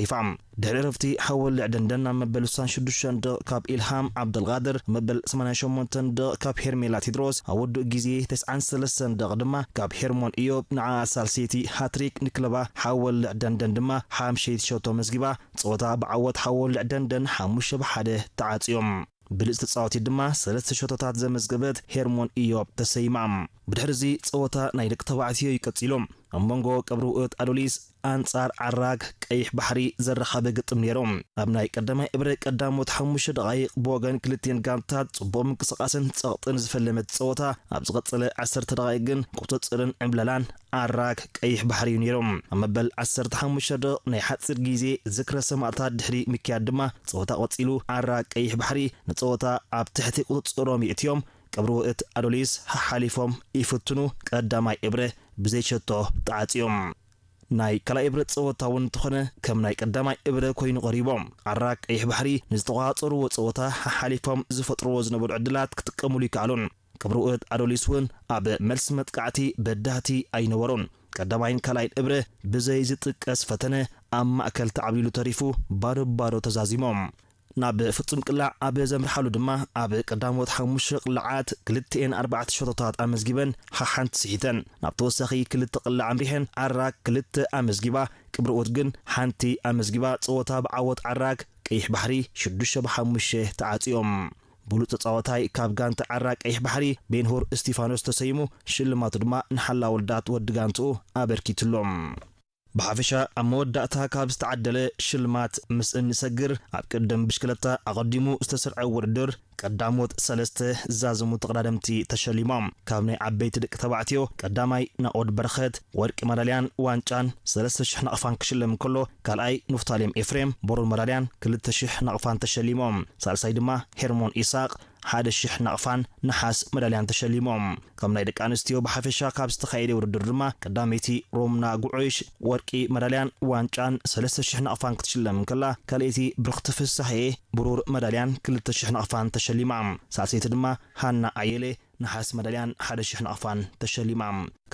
ዒፋ። ድሕሪ ዕረፍቲ ሓወልዕ ደንደን ኣብ መበል ስሳን ሽዱሽተን ደቕ ካብ ኢልሃም ዓብደልቃድር፣ ኣብ መበል ሰማንያን ሸሞንተን ደቕ ካብ ሄርሜላ ቴድሮስ፣ ኣብ ውዱእ ግዜ ተስዓን ሰለስተን ደቕ ድማ ካብ ሄርሞን ኢዮብ ንዓ ሳልሰይቲ ሃትሪክ ንክለባ ሓወልዕ ደንደን ድማ ሓምሸይቲ ሸቶ መዝጊባ፣ ጸወታ ብዓወት ሓወልዕ ደንደን ሓሙሽተ ብ ሓደ ተዓጽዮም። ብልጽቲ ተጻዋቲት ድማ ሰለስተ ሸቶታት ዘመዝገበት ሄርሞን ኢዮብ ተሰይማ። ብድሕሪ እዚ ጸወታ ናይ ደቂ ተባዕትዮ እዩ ቀጺሉ። ኣብ መንጎ ቀብሪ ውእት ኣዶሊስ ኣንጻር ዓራግ ቀይሕ ባሕሪ ዘራኸበ ግጥም ነይሩ። ኣብ ናይ ቀዳማይ እብረ ቀዳሞት ሓሙሽተ ደቓይቕ ብወገን ክልቲኤን ጋንታት ጽቡቕ ምንቅስቓስን ጸቕጥን ዝፈለመት ጸወታ፣ ኣብ ዝቐጸለ ዓሰርተ ደቓይቕ ግን ቁጽጽርን ዕብለላን ዓራግ ቀይሕ ባሕሪ እዩ ነይሩ። ኣብ መበል ዓሰርተ ሓሙሽተ ደቕ ናይ ሓጺር ግዜ ዝክረ ሰማእታት ድሕሪ ምክያድ ድማ ጸወታ ቀጺሉ። ዓራግ ቀይሕ ባሕሪ ንጸወታ ኣብ ትሕቲ ቁጽጽሮም የእትዮም። ቀብሪ ውእት ኣዶሊስ ሓሓሊፎም ይፍትኑ። ቀዳማይ እብረ ብዘይ ሸቶ ተዓጽዮም። ናይ ካልኣይ እብረ ጸወታ እውን እንተኾነ ከም ናይ ቀዳማይ እብረ ኮይኑ ቀሪቦም። ዓራግ ቀይሕ ባሕሪ ንዝተቋጻጸርዎ ጸወታ ሓሓሊፎም ዝፈጥርዎ ዝነበሩ ዕድላት ክጥቀምሉ ይከኣሉን። ቀብሪ ውእት ኣዶሊስ እውን ኣብ መልሲ መጥቃዕቲ በዳህቲ ኣይነበሩን። ቀዳማይን ካልኣይን እብረ ብዘይ ዝጥቀስ ፈተነ ኣብ ማእከል ተዓብሊሉ ተሪፉ ባዶ ባዶ ተዛዚሞም። ናብ ፍጹም ቅላዕ ኣብ ዘምርሓሉ ድማ ኣብ ቀዳሞት ሓሙሽተ ቅላዓት ክልቲኤን ኣርባዕተ ሸቶታት ኣመዝጊበን ሓሓንቲ ስሒተን። ናብ ተወሳኺ ክልተ ቅላዕ ኣምሪሐን ዓራግ ክልተ ኣመዝጊባ፣ ቀብሪ ውእት ግን ሓንቲ ኣመዝጊባ ጸወታ ብዓወት ዓራግ ቀይሕ ባሕሪ ሽዱሽተ ብ ሓሙሽተ ተዓጽዮም። ብሉጽ ተጻዋታይ ካብ ጋንታ ዓራግ ቀይሕ ባሕሪ ቤንሁር እስቲፋኖስ ተሰይሙ፣ ሽልማቱ ድማ ንሓላው ወልዳት ወዲ ጋንትኡ ኣበርኪትሎም። ብሓፈሻ ኣብ መወዳእታ ካብ ዝተዓደለ ሽልማት ምስ እንሰግር፣ ኣብ ቅድም ብሽክለታ ኣቐዲሙ ዝተሰርዐ ውድድር ቀዳሞት ሰለስተ ዛዘሙ ተቐዳደምቲ ተሸሊሞም። ካብ ናይ ዓበይቲ ደቂ ተባዕትዮ ቀዳማይ ናኦድ በረኸት ወርቂ መዳልያን ዋንጫን ሰለስተ ሽሕ ናቕፋን ክሽለም እንከሎ፣ ካልኣይ ንፍታሌም ኤፍሬም ብሩር መዳልያን ክልተ ሽሕ ናቕፋን ተሸሊሞም። ሳልሳይ ድማ ሄርሞን ኢሳቕ ሓደ ሽሕ ናቕፋን ነሓስ መዳልያን ተሸሊሞም። ከም ናይ ደቂ ኣንስትዮ ብሓፈሻ ካብ ዝተኻየደ ውድድር ድማ ቀዳመይቲ ሮምና ጉዑሽ ወርቂ መዳልያን ዋንጫን ሰለስተ ሽሕ ናቕፋን ክትሽለም እንከላ፣ ካልኣይቲ ብርኽቲ ፍሳሐየ ብሩር መዳልያን ክልተ ሽሕ ናቕፋን ተሸሊማ። ሳልሰይቲ ድማ ሃና ኣየለ ነሓስ መዳልያን ሓደ ሽሕ ናቕፋን ተሸሊማ።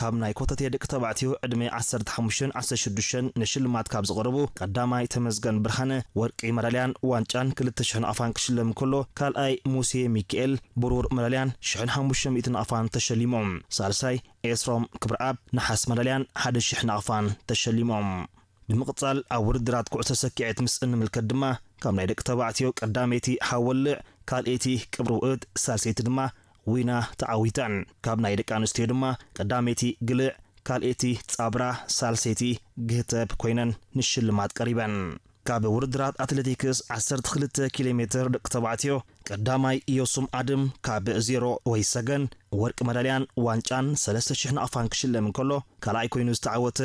ካብ ናይ ኮተቴ ደቂ ተባዕትዮ ዕድመ ዓሰርተ ሓሙሽተን ዓሰርተ ሽዱሽተን ንሽልማት ካብ ዝቐረቡ ቀዳማይ ተመስገን ብርሃነ ወርቂ መዳልያን ዋንጫን ክልተ ሽሕ ናቕፋን ክሽለም እንከሎ፣ ካልኣይ ሙሴ ሚካኤል ብሩር መዳልያን ሽሕን ሓሙሽተ ሚእቲ ናቕፋን ተሸሊሞም። ሳልሳይ ኤስሮም ክብረኣብ ነሓስ መዳልያን ሓደ ሽሕ ናቕፋን ተሸሊሞም። ብምቕጻል ኣብ ውድድራት ኩዕሶ ሰኪዔት ምስ እንምልከት ድማ፣ ካብ ናይ ደቂ ተባዕትዮ ቀዳመይቲ ሓወልዕ፣ ካልኣይቲ ቅብሪ ውእት፣ ሳልሰይቲ ድማ ዊና ተዓዊተን። ካብ ናይ ደቂ ኣንስትዮ ድማ ቀዳመይቲ ግልዕ፣ ካልኣይቲ ጻብራ፣ ሳልሰይቲ ግህተብ ኮይነን ንሽልማት ቀሪበን። ካብ ውድድራት ኣትሌቲክስ ዓሰርተ ክልተ ኪሎ ሜትር ደቂ ተባዕትዮ ቀዳማይ ኢዮሱም ኣድም ካብ ዜሮ ወይ ሰገን ወርቂ መዳልያን ዋንጫን ሰለስተ ሽሕ ናቕፋን ክሽለም እንከሎ፣ ካልኣይ ኮይኑ ዝተዓወተ